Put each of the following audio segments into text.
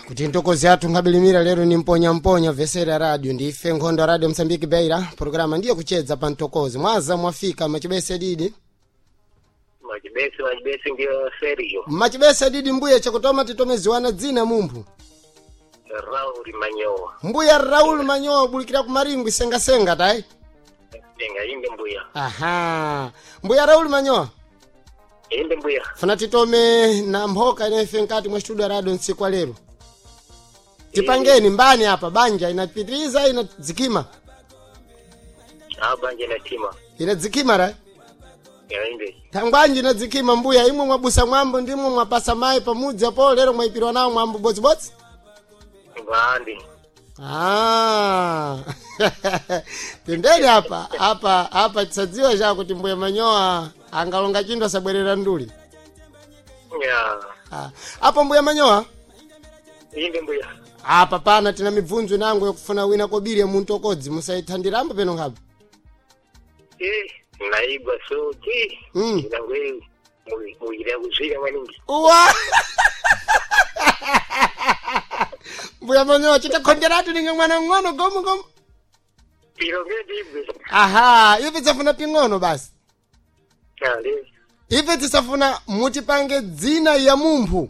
Kuti ntokozi athu nkabilimira lero ni mponyamponya vesera radio ndife nkhondo ya Radio Msambiki Beira. Programa ndiye kuchedza pa ntokozi. Mwaza mwafika machibese didi. Machibese, machibese ndiyo serio. Machibese didi mbuya chakutoma titomeziwana dzina mumphu. Raul Manyowa. Mbuya Raul Manyowa bulikira ku Maringwi sengasenga tai. Senga inde mbuya. Aha. Mbuya Raul Manyowa. Inde mbuya. Funa titome na mphoka inayife nkati mwa studio ya radio ntsiku wa lero. Tipangeni mbani apa banja inapitiriza inadzikima. Abanje na tima. Inadzikima ra. Ya inde. Thangwanji inadzikima mbuya imwe mwabusa mwambo ndimwe mwapasa mayi pamudzi apo lero mwayipirwa nawo mwambo bodzibodzi. Vandi. Ah. Tendeni apa apa apa tisadziwa chakuti mbuya Manyowa angalonga chinthu asabwerera nduli. Ya. Ah. Apo mbuya Manyowa Inde mbuya. apa pana tina mibvunzo nango yokufuna wina kobiri ya muntu okodzi musayithandirambo peno nkhapo. Eh, naigwa soki. Inangwe muyira kuzvira maningi. Uwa! Mbuya Manyowa chitakhonderatu ninge mwana ng'ono gomu gomu. Piro ngedibwe. Aha, ife tisafuna ping'ono basi. Ale. Ife tisafuna mutipange dzina ya mumphu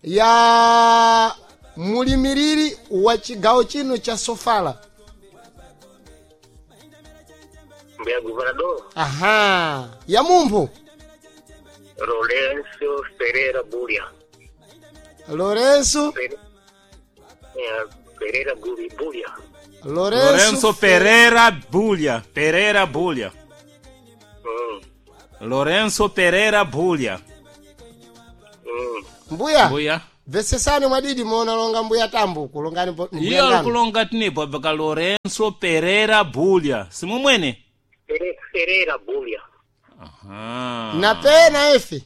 ya mulimiriri wa chigawo chino cha Sofala. Mbuya gobernador. Aha, ya mumphu Lorenzo Ferreira Buria. Lorenzo Ferreira Buria. Lorenzo, Lorenzo Pereira Bulha. Pereira Bulha. Lorenzo Pereira Bulha. Mbuya. Mbuya. Vesesani mwadidi muona longa mbuya tambu kulongani mbuya Iyo ngani. kulonga tinipo baka Lorenzo Pereira Bulha. Simumwene? Ferreira Buria. Aha. Na pe na efi.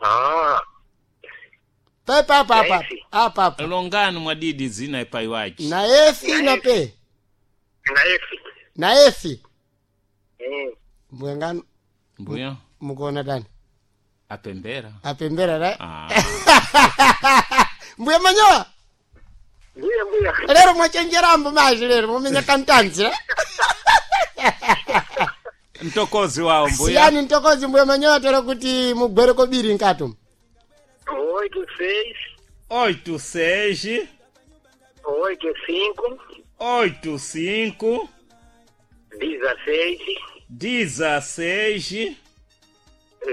Ah. Pe pa pa pa. Na efi. Apa apa. Longani mwadidi zina ipaiwachi. Na efi na pe. Na efi. Na efi. Mbuya ngani Mbuya. mukuona tani? Apembera. Apembera ra. Ah. Mbuya Manyowa. Mbuya mbuya. Lero mwachenjerambo maji lero mumenya kantanzi ra. Mtokozi wao mbuya. Siyani ntokozi mbuya Manyowa tero kuti mugwere kobiri nkatu. 86 86 85 85 16 16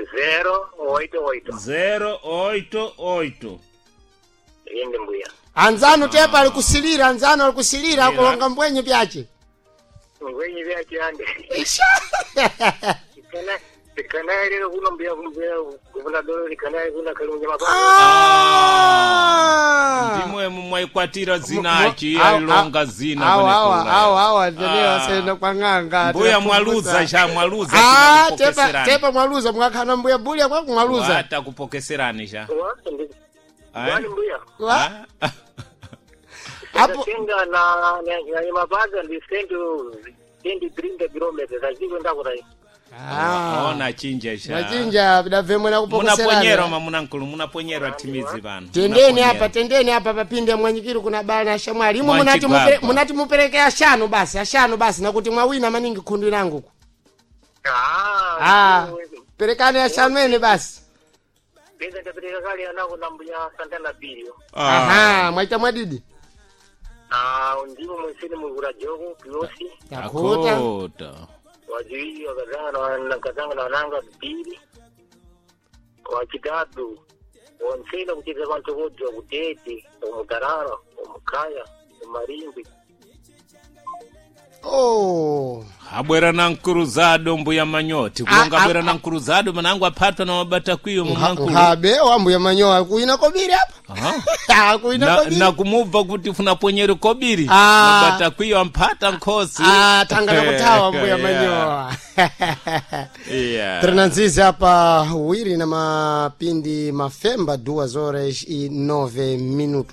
088. 088. Inde mbuya. Anzanu tepa alikusilira anzanu alikusilira akulonga mbwenye pyache. Ngwenyi vyache ande. Ikana ikana lero kuno mbuya mbuya gobernador ikana kuna kalunja mababa. Ah! Ndimwe mumwaikwatira zinachi alonga zina Awa awa kwenekula. awa awa ndene Ah. wasenda kwa ng'anga. Mbuya mwaluza cha mwaluza Ah, tepa tinakupokeserani. tepa mwaluza mwakhala mbuya bulya kwa mwaluza. Wata kupokeserani cha. Wa ndi. Wani mbuya. Wa? Apo Tenga na na mabaga ndi sendo sendi 30 kilometers aziko ndakurai. Ah. Ona chinja cha. Mwachinja bidavemwe na Munaponyerwa kupokeserana. mamunankulu munaponyerwa timizi pano. Tendeni Munaponyerwa. apa tendeni apa papinde mwanyikiri kuna bana ashamwali. Imwe munati Mwanchigwagwa. munati mupereke ashanu basi ashanu basi nakuti mwawina maningi khundu langu. Ah. Ah. Perekani ashanu ene basi. Pesa ndapeleka kale anako na mbuya Santana Bilio. Ah. Aha, mwaita mwadidi. Ah, ndimo mwisini mukura joko kiosi. Takuta. Akota. Wajiwili wakazanga na wakazanga na wananga mbili. Wachitatu wonsena kucheza kwantokodzwa kutete omutarara omukaya omarimbi. Oh. Abwera na nkuruzado mbuya manyoti kulonga Ah, ah, abwera na nkuruzado manangu aphatwa na mabatakwiyo mumankulu. Nkhabe wambuya Manyowa kuina kobiri apa. Aha. Ah, kuina Na, kobiri. na kumubva kuti funaponyere kobiri Ah. mabatakwiyo amphata nkhosi. Ah, tanga nakuthawa mbuya Manyowa. Yeah. Trinanzizi apa wiri na mapindi mafemba 2 horas e 9 minutos.